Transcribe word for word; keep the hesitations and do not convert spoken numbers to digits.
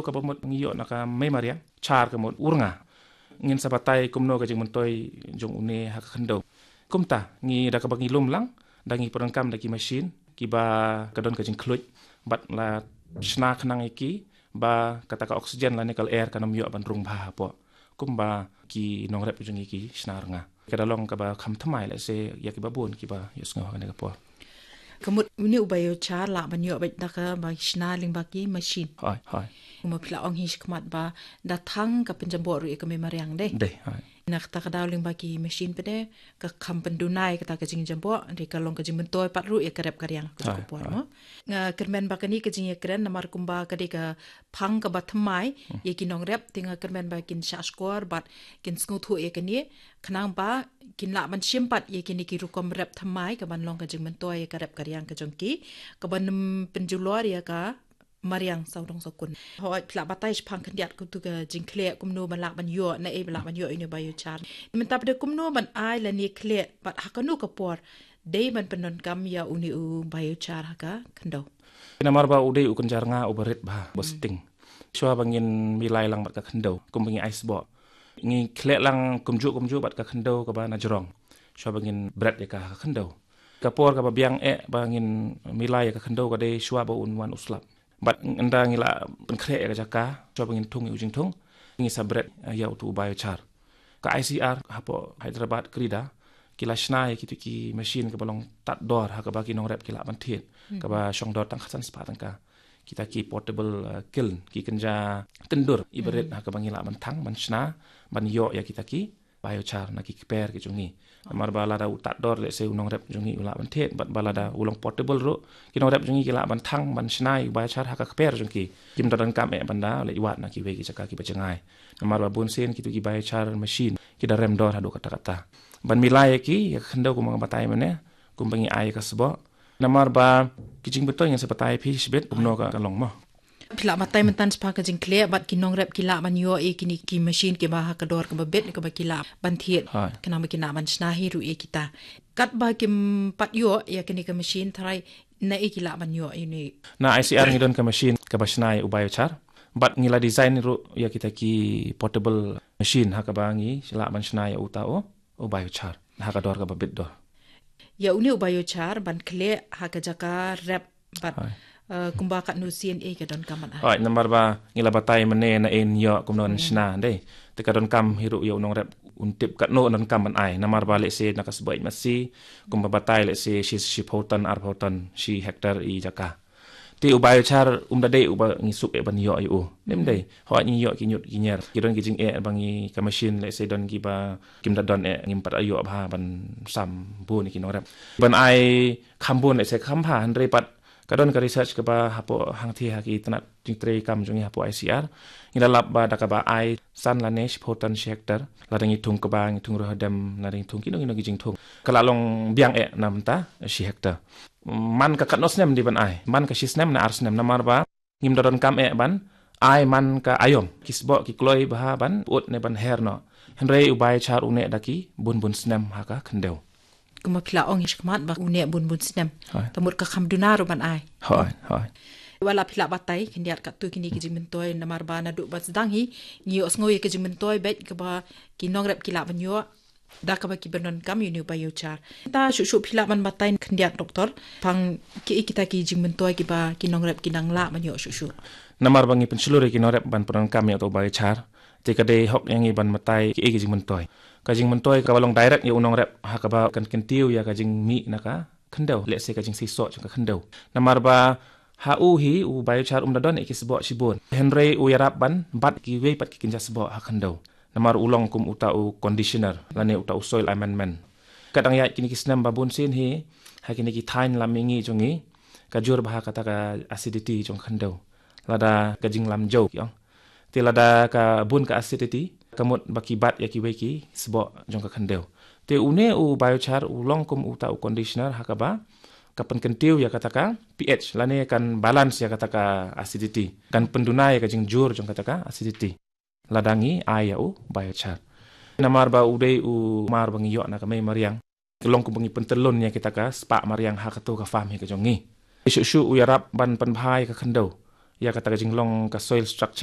Kaba mut ngi ïoh na ka mei mariang, char ka mut u rnga. Ngin sa batai kumno ka jingmyntoi jong une ha ka khyndew. Kumta, ngi da kaba ngi lum lang, da ngi pyndonkam da ki machine, kiba ka don ka jingkhluit, bad la shna khnang ïa ki, ba kata ka oxygen lane ka air kan ym ïoh ban rung bha hapoh. Kumba ki nongrep jong ngi ki shna rnga. Ka da long kaba kham thymmai lehse ïa kiba bun kiba ïohsngew ha kane ka por. Ka mut une u biochar lah ban ïoh beit da kaba shna lyngba ki machine. Hooid, hooid. Kumba phi la ong hi shakhmat ba da thang ka pynjamboh ruh ïa ka mei mariang de. De, hooid. Na kata ka daw lyngba ki machine pat de ka kham pynduna ïa kata ka jingjamboh, de ka long ka jingmyntoi pat ruh ïa ka rep ka riang ka, hooid, ka por, hooid, mo. Nga kyrmen ba kane ka jingïakren namar kumba ka dei ka phang kaba thymmai ïa ki nongrep, te nga kyrmen ba kin shahshkor bad kin sngewthuh ïa kane, khnang ba kin lah ban shim pat ïa kine ki rukom rep thymmai kaban long ka jingmyntoi ïa ka rep ka riang ka jong ki, kaban ym pynjulor ïa ka mariang sawdong sawkun. Hooid, phi lah batai shaphang khyndiat kumtu ka jingkhleh, kumno ban lah ban ïoh, naei ba lah ban ïoh ïa une u biochar. Mynta pat de kumno ban ai lane khleh bad ha kano ka por dei ban pyndonkam ïa une u biochar ha ka khyndew. Namar ba u dei u kynja rnga uba rit bha, uba sting. Shuwa ba ngin milai lang bad ka khyndew, kumba ngi ai sboh, ngi khleh lang kumjuh kumjuh bad ka khyndew kaba na jrong. Shuwa ba ngin bret ïa ka ha ka khyndew. Ka por kaba biang eh ba ngin milai ïa ka khyndew ka dei shuwa ba un wan u slap. Bad ynda ngi la pynkhreh ïa ka jaka, shuwa ba ngin thung ïa u jingthung, ngi sa bret ïa utu u biochar. Ka I C R hapoh Hyderabad, Creda, ki la shna ïa kitu ki machine kaba long tad dor ha kaba ki nongrep ki lah ban thied, kaba shong dor tang khatsan spah tyngka. Kita ki portable, eh, kiln, ki kynja tyndur iba rit ha kaba ngi lah ban thang, ban shna, ban ïoh ïa kita ki biochar na ki kper ki jong ngi. Namar ba lada u tad dor lehse u nongrep jong ngi u lah ban thied, bad ba lada u long portable ruh, ki nongrep jong ngi ki lah ban thang, ban shna ïa u biochar ha ka kper jong ki. Kim da donkam eh ban da leit wad na kiwei ki jaka kiba jngai. Namar ba bunsien kitu ki biochar machine ki da rem dor haduh katta katta. Ban milai ïa ki, ïa ka khyndew kumba nga batai mynne, kumba ngi ai ïa ka sboh. Namar ba ki jingmyntoi ngin sa batai phi shibit kumno ka, ka long mo. Phi lah batai mynta shaphang ka jingkhleh bad ki nongrep ki lah ban ïoh ïa kine ki machine kiba ha ka dor kaba bit kaba ki lah ban thied. Hooid. Khnang ba ki lah ban shna hi ruh ïa kita. Katba kim pat ïoh ïa kine ki machine, tharai naei ki lah ban ïoh ïa une? Na I C R ngi don ka machine kaba shna ïa u biochar. Bad ngi la design ruh ïa kita ki portable machine ha kaba ngi lah ban shna ïa uta u, u biochar ha ka dor kaba bit dor. Ïa une u biochar ban khleh ha ka jaka rep bad, hooid, eh, kumba katno sien eh ka donkam ban ai? Hooid, namar ba ngi la batai mynne naei yn ïoh, kumno yn shna, dei. Te ka donkam hi ruh ïa u nongrep un tip katno yn donkam ban ai. Namar ba lehse na ka sboh ïeit masi, kumba batai lehse shi, shiphew ton, arphew ton, shi hectare i jaka. Te u biochar um da dei uba ngi suk eh ban ïoh ïa u. Ym dei. Hooid, ngi ïoh ki ñiut ki ñier. Ki don ki jingeh ba ngi ka machine lehse don kiba kim da don eh, ngim pat ïoh bha ban sam bun ïa ki nongrep. Ban ai kham bun lehse kham bha, hynrei pat ka don ka research kaba hapoh hangthie ha ki tnat jingtrei kam jong ngi hapoh I C R. Ngi la lap ba da kaba ai san lane shiphew ton shi hectare, lada ngi thung kba, ngi thung riewhadem, lada ngi thung kino kino ki jingthung, ka la long biang eh na bynta shi hectare. Man ka katno snem dei ban ai? Man ka shi snem ne ar snem? Namar ba ngim da donkam eh ban ai man ka aïom, ki sboh ki kloi bha ban pyut ne ban her noh. Hynrei u biochar u neh da ki bun bun snem ha ka khyndew. Kumba phi la ong hi shakhmat ba u neh bun bun snem. Hooid. Te mut ka kham duna ruh ban ai. Hooid, hooid. Wat la phi lah batai khyndiat katto kine ki jingmyntoi, namar ba naduh ba sdang hi ngi ïohsngew ïa ki jingmyntoi beit kaba ki nongrep ki lah ban ïoh da kaba ki pyndonkam ïa une u biochar. Te shuh shuh phi lah ban batai khyndiat, Doktor, shaphang kiei kita ki jingmyntoi kiba ki nongrep ki nang lah ban ïoh shuh shuh? Namar ba ngi pynshlur ïa ki nongrep ban pyndonkam ïa uta u biochar, te ka dei hok ïa ngi ban batai kiei ki jingmyntoi. Ka jingmyntoi kaba long direct ïa u nongrep ha kaba kan kyntiew ïa ka jingmih na ka khyndew, lehse ka jingseisoh jong ka khyndew. Namar ba ha u hi u biochar um da don eh ki sboh shibun, hynrei u ïarap ban bat kiwei pat ki kynja sboh ha khyndew. Namar u long kum uta u conditioner lane uta u soil amendment. Ka dang ïaid kine ki snem ba bun sien hi, ha kine ki thaiñ lam mihngi jong ngi, ka jur bha kata ka acidity jong khyndew. Lada ka jinglam jew ki ong. Te lada ka bun ka acidity, ka mut ba ki bat ïa kiwei ki sboh jong ka khyndew. Te une u biochar u long kum uta u conditioner ha kaba ka pynkyntiew ïa kata ka pH, lane kan balance ïa kata ka acidity, kan pynduna ïa ka jingjur jong kata ka acidity lada ngi ai ïa u biochar. Namar ba u dei u mar ba ngi ïoh na ka mei mariang, ka long kumba ngi pyntyllun ïa kita ka spah mariang ha kato ka farm hi ka jong ngi. Shuh shuh u ïarap ban pynbha ïa ka khyndew. ïa kata ka jinglong ka soil structure.